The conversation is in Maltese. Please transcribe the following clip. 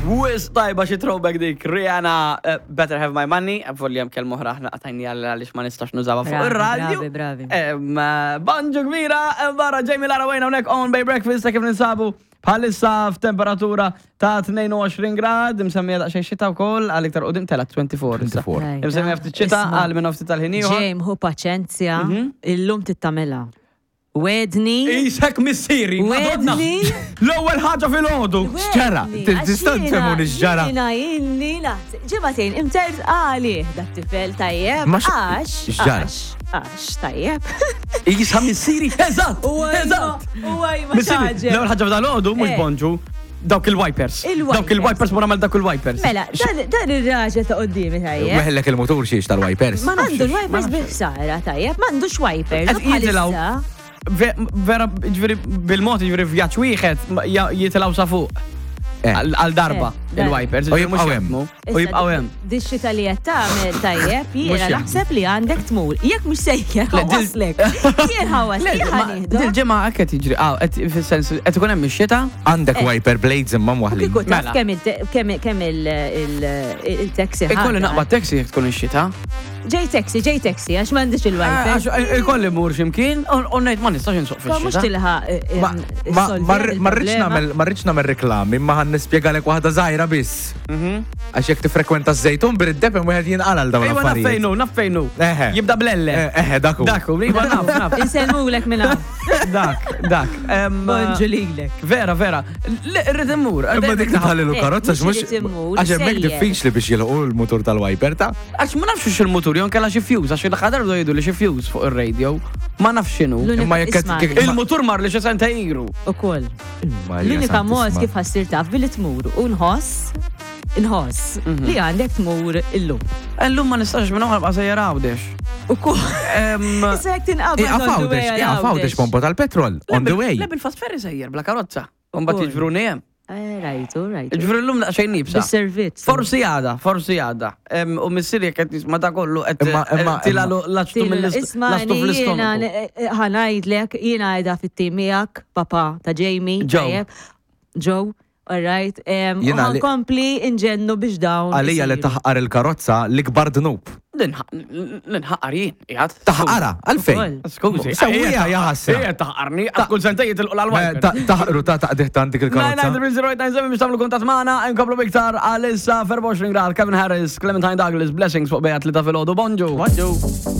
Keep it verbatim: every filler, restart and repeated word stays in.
Wisq tajba, xi throwback dik, Rihanna, uh, "Better Have My Money", volja hemm kelma oħra aħna qatajni għal għaliex ma nistax nużawha fuq Bravi, ir-radio. Bravi, bravi. Em, eh, Bonġu kbira, em, barra Jamie Lara Wayne hawnhekk on Bay Breakfast ta' kif ninsabu bħalissa f'temperatura ta' tnejn u għoxrin grad, msemmija daqsxejn xita wkoll għal iktar qudiem tela twenty-four issa. twenty-four. Rajta. Msemmija ftit xita Isma', għal minn ftit tal-ħin ieħor. James, ħu paċenzja, Mhm. illum tittamela. Wedni. Isek missieri, Madonna. Wedni. L-ewwel ħaġa fil-għodu. X'ġara? Tista' tfehmuni x'ġara? Jiena illi naħseb. Ġimagħtejn, imtert għali dat tifel tajjeb. Ma x- Għax, x'ġara? għax, għax, tajjeb. Isa missieri, eżatt, U eżatt. U għaj ma Missieri, xaġeb. l-ewwel ħaġa f'dal-għodu mhux Eh. bonġu, dawk il-wipers. Il-wipers. Dawk il-wipers, mura mal dawk il-wipers. Mela, dan dan ir-raġel ta' qoddimi tajjeb. Weħellek il-motur xiex tal-wipers. Ma nafx, Għandu ma l-wipers nafx. bil-ħsara tajjeb, m'għandux wipers. Qed U jitilgħu. bħalissa- Ve- Vera, ġifieri, bil-mod, ġifieri, vjaġġ wieħed ma- ja- jitilgħu sa fuq. Eh. Għal għal darba Eh, il-wipers. U Ġifieri mhux jibqgħu hemm. jaħdmu. U jibqgħu hemm. Dix-xita li qed tagħmel tajjeb, Mhux jiena jaħdmu. naħseb li għandek tmur. Jekk mhux sejjer Le, dil- ħawaslek. Jien ħawaslek, Le, ma- Dil-ġimgħa hekk qed jiġri, ah, qed fis-sens qed ikun hemm ix-xita. Għandek wiper blades imma mwaħlin. Kieku taf Mela. kemm il- kemm kemm il- il- il-taxi Ikolli ħadha. naqbad taxi jekk tkun ix-xita. Ġej taxi, ġej taxi, għax m'għandix il-wiper. Għax ikolli mur x'imkien u ngħid ma nistax insuq Ma mhux fix-xita. tilħaq eh, Ma eh, ma- issolvi ma ma rridx il-problema. nagħmel ma rridx nagħmel reklami, imma ħan nispjegalek waħda żgħira biss. Mhm. Għax jekk tifrekwenta ż-Żejtun bir-id-depem wieħed jinqala l dawn Ejwa, naf l-affarijiet. fejnu, naf fejnu. Eħe. Jibda bl-elle. Eh, Eħe, daku. Daku, iva, naf, naf. Insellmulek minn hawn. Dak, dak. Em, Bonġu lilek. Vera, vera. Le, irrid immur. Imma dik tħallilu Eh, karozza mhux mhux irid immur, għax hemmhekk sejjer. diffiċli biex jilħqu l-mutur tal-wiper ta' Għax ma nafx x'il mutur jon kella xi fuse, għax il-ħadar do jgħidu li xi fuse fuq ir-radio. Ma nafx x'inhu. L-unika- Imma jekk qed- isma' kik- Il-mutur mar li xi senta iru. Ukoll. Imma L-unika mod Santissima. kif ħa ssir taf billi tmur u nħoss nħoss Mhm. li għandek tmur illum. Illum ma nistax minn oħra sejjer Għawdex. Ukoll. Em, Issa jekk tinqabad Iqaf on the way Għawdex, għal iqaf Għawdex pompa tal-petrol, on the way. Le, bil-fast ferry sejjer bla karozza. Mbagħad Ukoll. jiġbruni hemm. Eh, Rajtu, rajtu. Ġifri llum daqsxejn nibsa. Bis-servizz. Forsi għada, forsi għada. Em, U missieri jekk qed nisma' ta' kollu qed Imma- imma- tilalu laċtu mill-laċtu Isma, jiena fl-istonku. ħa ngħidlek, jiena għajda fit-tim miegħek, papa ta' Jamie. Joe. Tajjeb. Joe, all right. Em, U Jiena li- ħa nkompli inġennu biex dawn. Għalija li isiru. taħqar il-karozza l-ikbar dnub. Ninħaqar jien, jgħad. Taħqara, għalfejn. Ukoll. Skużi. Sewwija ja ħasra. Ejja taħqarni, għax kull sentejn jitilqu l-wiper. Taħqru ta' taqdiħ ta' dik il-karozza. nine nine three zero eight nine seven biex tagħmlu kuntatt magħna, nkomplu biktar għalissa f'erbgħa u għoxrin grad, Kevin Harris, Clementine Douglas, "Blessings" fuq Bay li ta' filgħodu. Bonġu. Bonġu.